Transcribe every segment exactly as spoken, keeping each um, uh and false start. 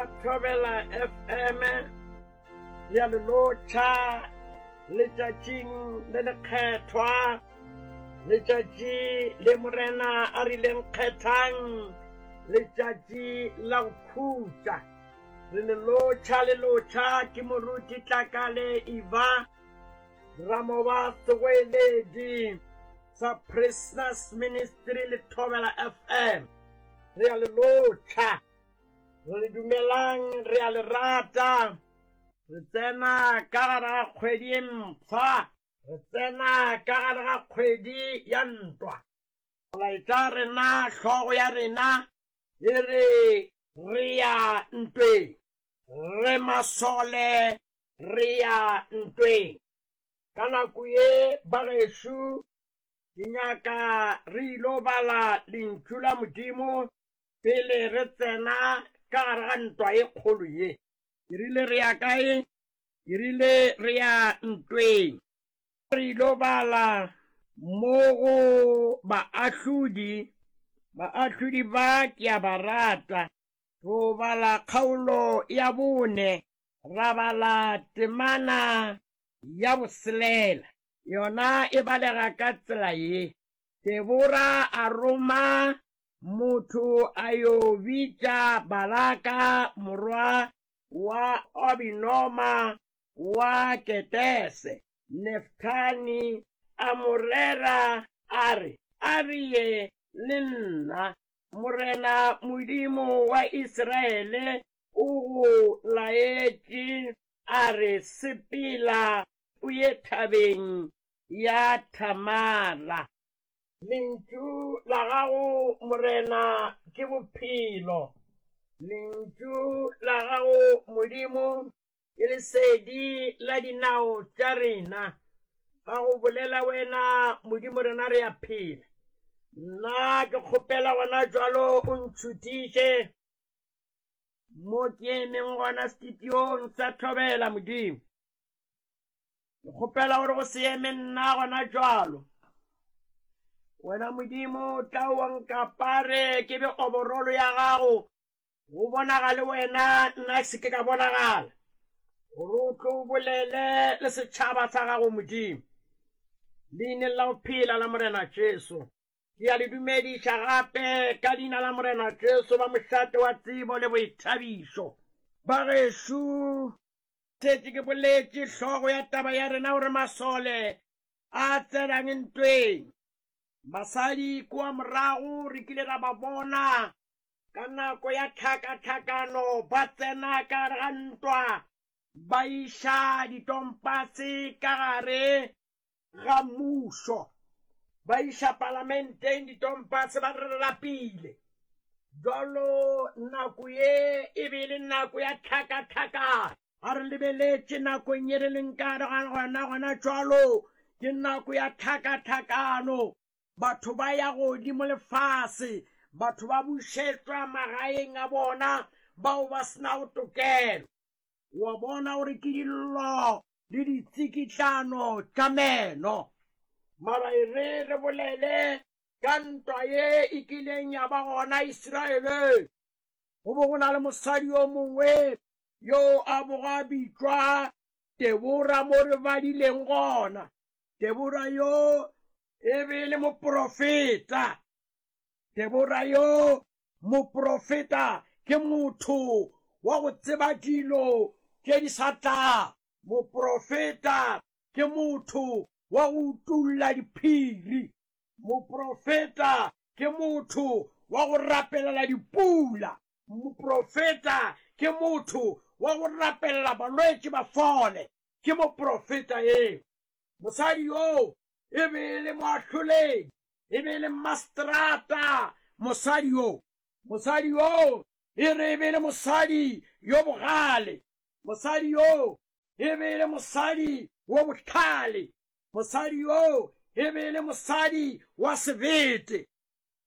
Ba Thobela F M ya le lotšha letšatšing le lekgethwa, letšatši le Morena a rileng kgethang letšatši la go khutša. Re le lotšha le lotšha ke moruti Tlakale Iva Ramoba, segoeledi sa Prisoners Ministry le Thobela F M. Re a le lotšha, re le dumelang, re a le rata. Re tsena ka gare ga kgwedi e mpsha, re tsena ka gare ga kgwedi ya ntwa. Molaetša rena, hlogo ya rena e re re ya ntweng, re masole, re ya ntweng. Ka nako ye, bagešo, ke nyaka re ilo bala lentšu la Modimo pele re tsena ka gare ga ntwa e kgolo ye. Ke rile re ya kae? Ke rile re ya ntweng. Re ilo bala mo go Baahlodi. Baahlodi ba ke a ba rata. Ro bala kgaolo ya bone, ra bala temana ya boselela. Yona e balega ka tsela ye: Debora a roma motho a yo bitša Balaka morwa wa Abinoma wa Ketese Neftali, a mo rera a re: "A re ye le nna, Morena Modimo wa Israele o go laetše a re: Sepela o ye thabeng ya Thamara." Lentšu la gago, Morena, ke bophelo. Lentšu la gago, Modimo, ke lesedi la dinao tša rena. Ga go bolela wena, Modimo, rena re a phela. Nna ke kgopela gona jwalo o ntšhutiše mo ke emeng gona studiong sa Thobela. Modimo, ke kgopela gore go se eme nna gona jwalo, wena Modimo tla wa nkapare, ke be oborolo ya gago, go bonagale wena, nna se ke ka bonagala, gore o tlo bolele le setšhaba sa gago, Modimo, leineng la go phela la Morena Jesu. Ke a le dumediša gape ka leina la Morena Jesu, ba mošate wa tsebo le boithabišo. Bagešo, šetše ke boletše hlogo ya taba ya rena gore masole a tsenang ntweng. Basadi kua morago re kile ra ba bona ka nako ya tlhakatlhakano ba tsena ka gare ga ntwa, ba iša ditompase ka gare ga mmušo, ba iša palamenteng ditompase, ba re lapile jalo. Nako ye e be e le nako ya tlhakatlhakano. Ga re lebeletše nakong ye re leng ka gare ga gona gona jalo, ke nako ya tlhakatlhakano. Batho ba ya godimo lefase, batho ba bušetšwa magaeng a bona bao ba senago tokelo. Wa bona gore ke dillo le ditsikitlano tša meno. Mara e re re bolele ka ntwa ye e kileng ya ba gona Israele. Go bo go na le mosadi yo mongwe yo a bogo a bitšwa Debora, mo re badileng gona. Debora yo e be e le moprofeta. Debora yo moprofeta ke motho wa go tseba dilo tše di sa tla. Moprofeta ke motho wa go utulla diphiri. Moprofeta ke motho wa go rapelela dipula. Moprofeta ke motho wa go rapelela balwetši ba fole. Ke moprofeta eo. Mosadi yoo e be e le moahloledi, e be e le mastrata mosadi yoo. Mosadi yoo e re e be e le mosadi yo bogale. Mosadi yoo e be e le mosadi wo bohlale. Mosadi yoo e be e le mosadi wa sebete.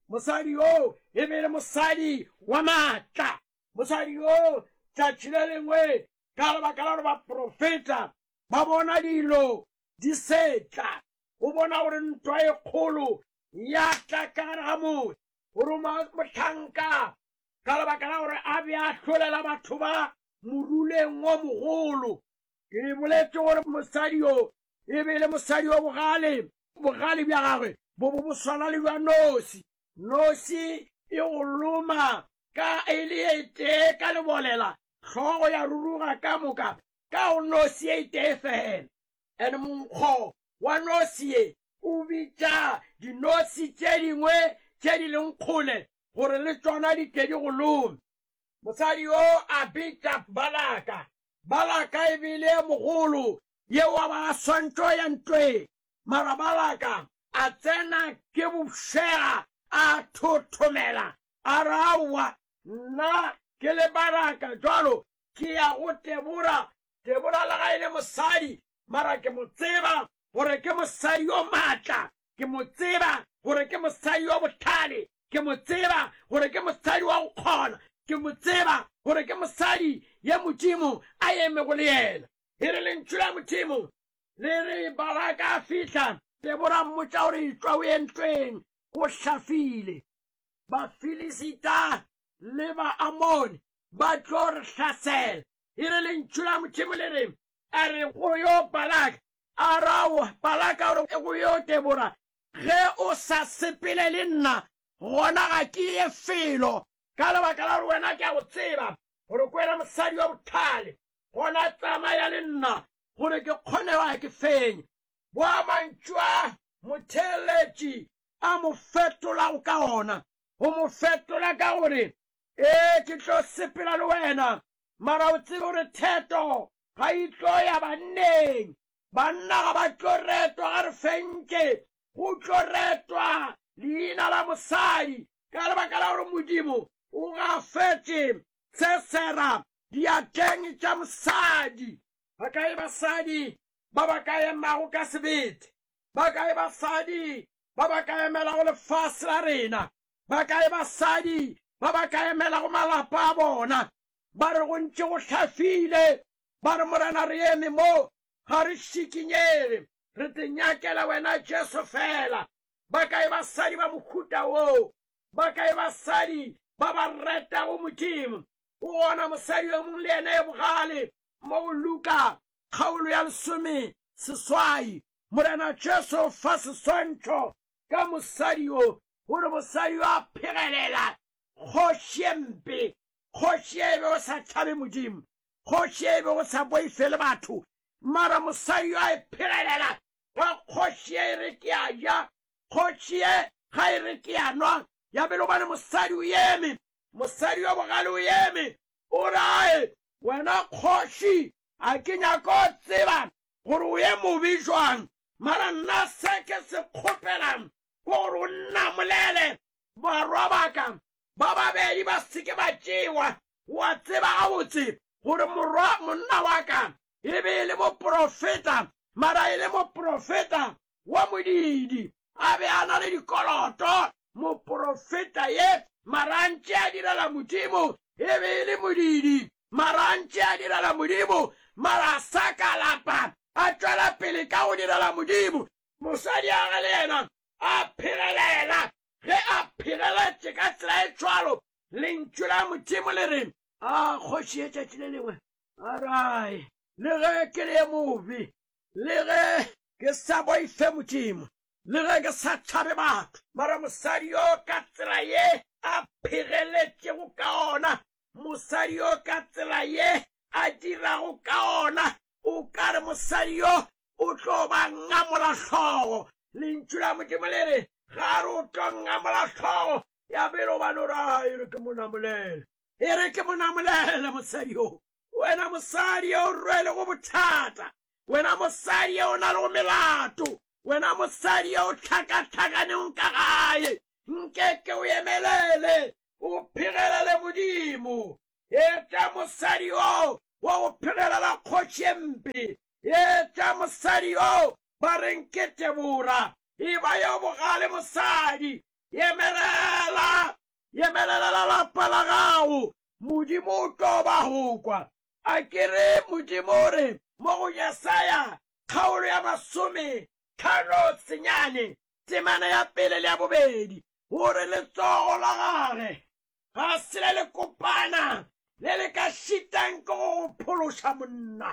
Mosadi yoo e be e le mosadi wa maatla. Mosadi yoo tšatši le lengwe, ka lebaka la gore baprofeta ba bona dilo di setla, o bona gore ntwa e kgolo ya tla ka gare ga motse, o roma mohlanka Ka lebaka la gore a be a hlolela batho ba moruleng wo mogolo. Ke boletše gore mosadi yo e be e le mosadi wa bogale. Bogale bja gagwe bo bo bo swana le bja nosi. Nosi e go loma ka e le e tee ka lebolela, hlogo ya ruruga ka moka ka go nosi e tee fela. And monkgo wa nosi ye o bitša dinosi tše dingwe tše di leng kgole gore le tšona di tle di go lome. Mosadi yo a bitša Balaka. Balaka e be le mogolo yeo a ba a swantšo ya ntweng. Mara Balaka a tsena ke bofšega a thothomela a re, Aowa, nna ke le Balaka jwalo ke ya go Debora. Debora le ga e le mosadi, mara ke mo tseba gore ke mosadi yo maatla, ke mo tseba gore ke mosadi yo bohlale, ke mo tseba gore ke mosadi wa go kgona, ke mo tseba gore ke mosadi ye Modimo a emego le yena. E re lentšu la Modimo le re Balaka a fihla, Debora mmotša gore etšwa o ye ntweng, go hlafile. Bafilisita le Baamoni ba tlo re hlasela. E re lentšu la Modimo le re, a re go yo Balaka, a ra Balaka gore go yo Debora, ge o sa sepele le nna, gona ga ke ye felo. Ka lebaka la gore wena ke a go tseba gore ke wena mosadi wa bohlale, gona tsamaya le nna gore ke kgone wa ke fenye. Boa mantšu a motheeletši a mo fetolago ka ona, o mo fetola ka gore, ee, ke tlo sepela le wena, mara o tsebe gore theto ga e tlo ya banneng. Banna ga ba tlo retwa ga re fentše, go tlo retwa leina la mosadi ka lebaka la gore Modimo o gafetše Sesera diatleng tša mosadi. Ba kae basadi ba ba ka emago ka sebete? Ba kae basadi ba ba ka emelago lefase la rena? Ba kae basadi ba ba ka emelago malapa a bona? Ba re go ntše go hlafile, ba re Morena re eme mo, ga re šikinyege, re te nyakela wena Jesu fela. Ba kae basadi ba mohuta woo? Ba kae basadi ba ba retago Modimo? O gona mosadi yo mongwe le yena e bogale mo go Luka kgaolo ya lesome seswai. Morena Jesu fa seswantšho ka mosadi yo, gore mosadi yo a phegelela kgoši e mpe, kgoši e be go sa tšhabe Modimo, kgoši e be go sa boifele batho, mara mosadi yo a e phegelela ga kgoši e re ke a ja, kgoši e ga e re ke a nwa. Ya bele gobane mosadi o eme, mosadi yo bogale o eme, o rae wena kgoši, a ke nyako tseba gore o ye mobe jwang, mara nna se ke se kgopelang ke gore o nnamolele barwa ba ka ba babedi ba se ke ba tšewa. Wa tseba gabotse gore morwa monna wa ka e be e le moprofeta, mara e le moprofeta wa modidi, a be a na le dikoloto. Moprofeta ye mara a ntše a direla Modimo, e be e le modidi, mara a ntše a direla Modimo, mara a sa ka lapa, a tšwela pele ka go direla Modimo. Mosadi a ge le yena a phegelela, ge a phegeletše ka tsela e tšwalo, lentšu la Modimo le re, a kgoši e tšatši le lengwe a rae, le ge ke le mobe, le ge ke sa boife Modimo, le ge ke sa tšhabe batho, mara mosadi yo ka tsela ye a phegeletšego ka ona, mosadi yo ka tsela ye a dirago ka ona, o ka re mosadi yo o tlo ba ngamola hlogo. Lentšu la Modimo le re ga re o tlo ngamola hlogo, ya bele gobane o ra e re ke mo namolele, e re ke mo namolele mosadi yo. Wena mosadi yo o rwelego bothata, wena mosadi yo o na lego melato, wena mosadi yo o hlakahlakaneng ka gae, nke ke o emelele, o phegelele Modimo. Etša mosadi yo wa go phegelela kgoši e mpe, etša mosadi yo ba reng ke Debora, e ba yo bogale mosadi. Emelela, emelela lapa la gago, Modimo o tlo ba go kwa. A ke re Modimo o re mo go Jesaya kgaolo ya masome tlhano senyane temana ya pele le ya bobedi, gore letsogo la gage Ga se le le kopana le le ka šitang ke go go phološa monna.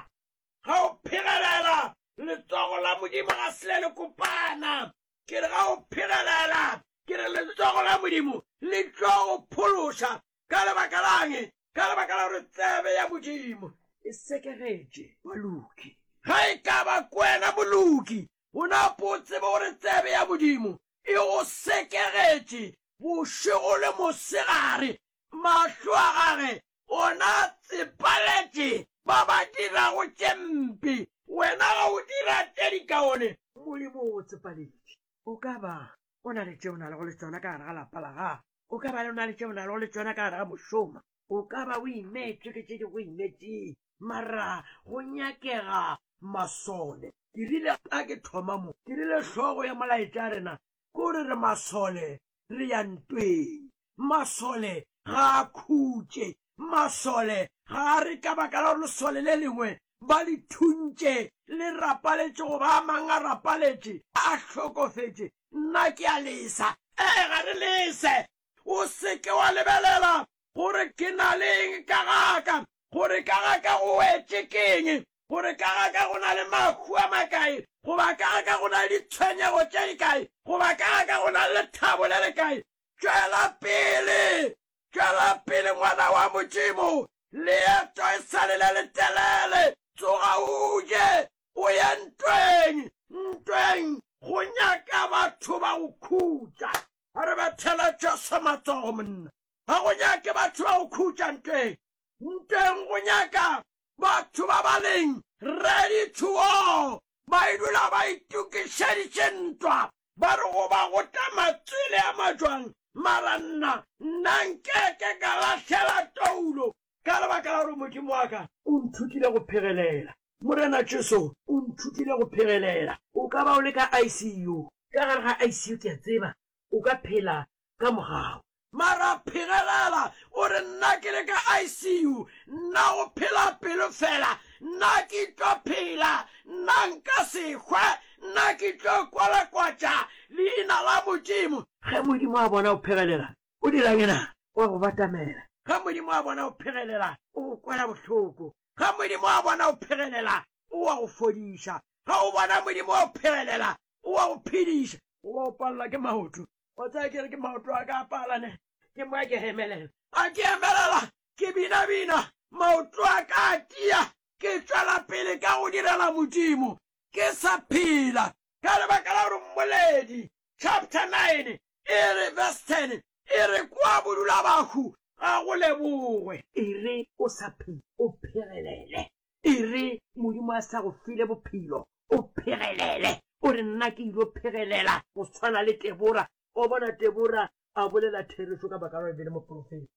Ga o phegelela, letsogo la Modimo ga se le le kopana. Ke re ga o phegelela, ke re letsogo la Modimo le tlo go phološa. Ka lebaka lang? Ka lebaka la gore tsebe ya Modimo e sekegetše baloki. Ga e ka ba kwena moloki, o napo o tsebe gore tsebe ya Modimo e go sekegetše bošego le mosegare. Mahlo a gage ona a tsepaletše ba ba dirago tše mpe, wena ga o dira tše dikaone, Modimo o go tsepaletše. O ka ba o na le tše o na lego le tšona ka gare ga lapa la gago, o ka ba o na le tše o na lego le tšona ka gare ga mošomo, o ka ba o imetšwe ke tše di go imetšeng, mara go nyakega masole. Ke rile a ke thoma mo, ke rile hlogo ya molaetša rena ke gore re masole, re ya ntweng. Masole ga a khutše, masole ga a re ka baka la gore lesole le lengwe ba le thuntše le rapaletše goba a mang a rapaletše a hlokofetše, nna ke a lesa. Ee, ga re lese. O se ke wa lebelela gore ke na le eng ka gaka, gore ka gaka go wetše keng, gore ka gaka go na le mahu a makae, goba ka gaka go na le ditshwenyego tše dikae, goba ka gaka go na le lethabo le lekae. Tšwela pele, tšwela pele ngwana wa Modimo, leeto e sa le le letelele. Tsoga o je, o ye ntweng, ntweng go nyaka batho ba go khutša. A re bethela Jesu matsogo monna. Ga go nyake batho ba go khutša ntweng. Ntweng go nyaka batho ba ba leng ready to war, ba e dula ba itokišeditše ntwa, ba re go ba go tla matswele a majwang, mara nna nna nkeke ka lahlela toulo ka lebaka la gore Modimo wa ka o nthutile go phegelela. Morena Jesu o nthutile go phegelela. O ka ba o le ka I C U, ka gare ga I C U ke a tseba o ka phela ka mogau, mara phegelela o re nna ke le ka I C U, nna go phela pelo fela, nna ke tlo phela, nna nka se hwe, nna ke tlo kwalakwatša leina la Modimo. Ge Modimo a bona o phegelela, o dirang ena? O a go batamela. Ge Modimo a bona o phegelela, o go kwela bohloko. Ge Modimo a bona o phegelela, o a go fodiša. Ge o bona Modimo o phegelela, o a go phediša. O a o palela ke maoto. O tsaya ke re ke maoto a ka a palane, ke moya ke emelela. A ke emelela, ke binabina, maoto a ka a tia, ke tšwela pele ka go direla Modimo, ke sa phela. Ka lebaka la gore Mmoledi chapter nine e re verse ten e re kwa bodula bahu ga go lebogwe. E re o sa phela, o phegelele. E re Modimo a sa go file bophelo, o phegelele. O re nna ke ilo phegelela go tshwana le Tebora. O bona Tebora a bolela therešo ka baka la gore e be le moprofeta.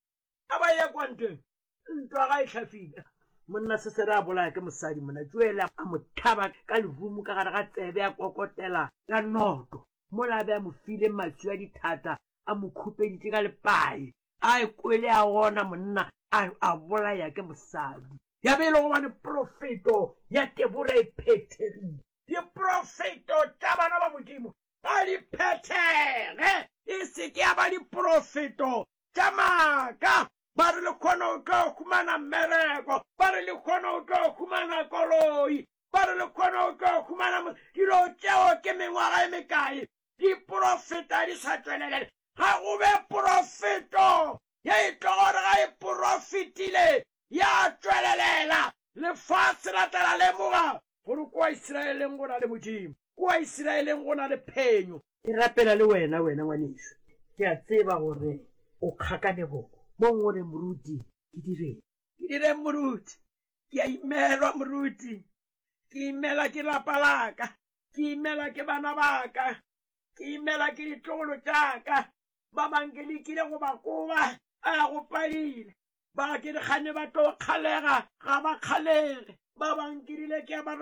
A ba ya kwa ntweng, ntwa ga e hlafile. Monna Sisera a bolaya ke mosadi monna Joele a mo hlaba ka lerumo ka gare ga tsebe, a kokotela ka noto. Mola a be a mo file maswi a dithata, a mo khupeditše ka lepai. A e kwele a ona monna a, a bolaya ke mosadi. Ya be e le gobane profeto ya Tebora e phethegile. Diprofeto tša bana ba Modimo ga di phethege, e se ke ya ba diprofeto tša maaka. Ba re le kgone o tlo humana mmereko, ba re le kgone o tlo humana koloi, ba re le kgone o tlo humana dilo tšeo ke mengwaga e mekae diprofeta di sa tšwelelele. Ga go be profeto ye e tlo gore ga e profetile ya tšwelelela. Lefase la tla la lemoga gore kwa Israeleng go na le Modimo, kwa Israeleng go na le phenyo. Ke rapela le wena, wena ngwanešu, ke a tseba gore o kgakanegong mo ngwe moruti, ke direng? Ke direng moruti? Ke a imelwa moruti, ke imela ke lapa laka, ke imela ke bana baka, ke imela ke ditlogolo tšaka. Ba bang ke lekile go ba koba, a go padile. Ba ke dikgane ba tlo kgalega, ga ba kgalege. Ba bang ke rile ke a ba